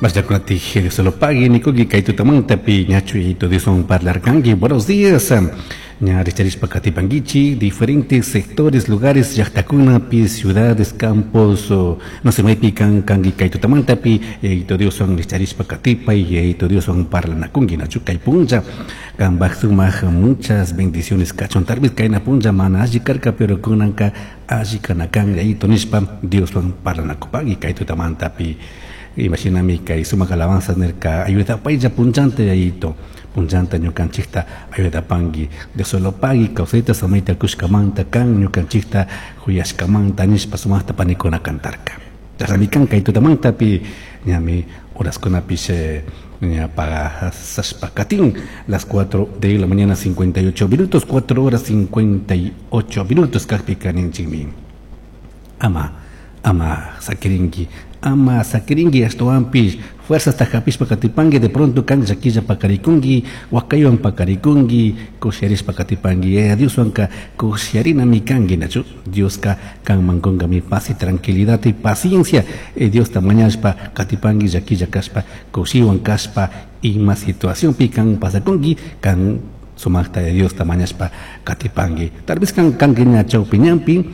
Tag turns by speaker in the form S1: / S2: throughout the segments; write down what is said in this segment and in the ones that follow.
S1: Masllakunati Dios lo pague nikuki kay tutamantapi ñachu yayito Dioswan parlarkanki. Buenos días. Ña richarishpa katipankichik diferentes sectores, lugares, llaqtakunapi, ciudades, campos, no sé maypi kan kanki kay tutamantapi yayito Dioswan richarishpa katipay, yayito Dioswan parlanakunki nachu kay punlla kanpaj sumaq muchas bendiciones kachun. Tal vez kayna punlla mana alli karka, pero kunanka alli kana kan yayito nishpa Dioswan parlanakupaki kay tutamantapi. Imashinami kay sumaq alabanzas nirka ayudapaylla punllanta yayito, punllanta ñukanchikta ayudapanki. Dios lo pagui kawsayta samayta kushkamanta kan ñukanchikta huyashkamanta nishpa sumaqta panikuna cantarka. Chashnami kan kay tutamantapi ñami horaskunapish ña pasashpa katin las 4 de la mañana 58 minutos, 4 horas 58 minutos kajpika ninchikmi. Ama, ama sakirinki, ama sakirinki ashtawanpish fuerzasta hapishpa katipanki, de pronto kan llakilla pakarikunki, wakaywan pakarikunki, kushiarishpa katipanki. Yaya Dioswanka kushiarinami kanki, nachu? Dioska kanman kunkami paz y tranquilidad y paciencia. Diosta mañashpa katipanki, llakilla kashpa, kushiwan kashpa, ima situacionpi kan pasakunki, kan sumaqta Diosta mañashpa katipanki. Tal vez kan kanki ña chawpi ñanpi,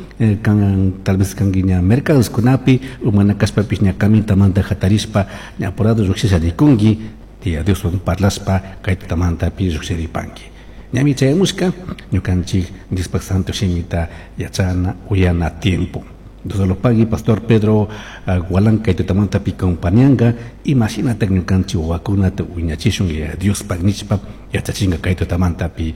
S1: kan tal vez kanki ña mercadoskunapi, umana kashpapish ña camintamanta hatarishpa ña apurado lluqshisha rikunki, tía Dioswan parlashpa kay tutamantapi lluqshiripanki. Ñami chayamushka ñukanchik Diospaj Santo Shimita yachana uyana tiempo. Dios lo pagui, Pastor Pedro Gualán kay tutamantapi compañanga, imashinata ñukanchik wawakunata wiñachishun Diospaj nishpa yachachinga kay tutamantapi.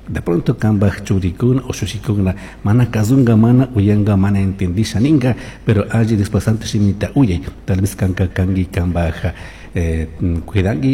S1: De pronto kambaj churikuna o shushikuna mana kazunga, mana uyanga, mana entendisha ninga, pero alli Diospaj Santo Shimita uyay, tal vez kanka kangi kambaj cuidangi.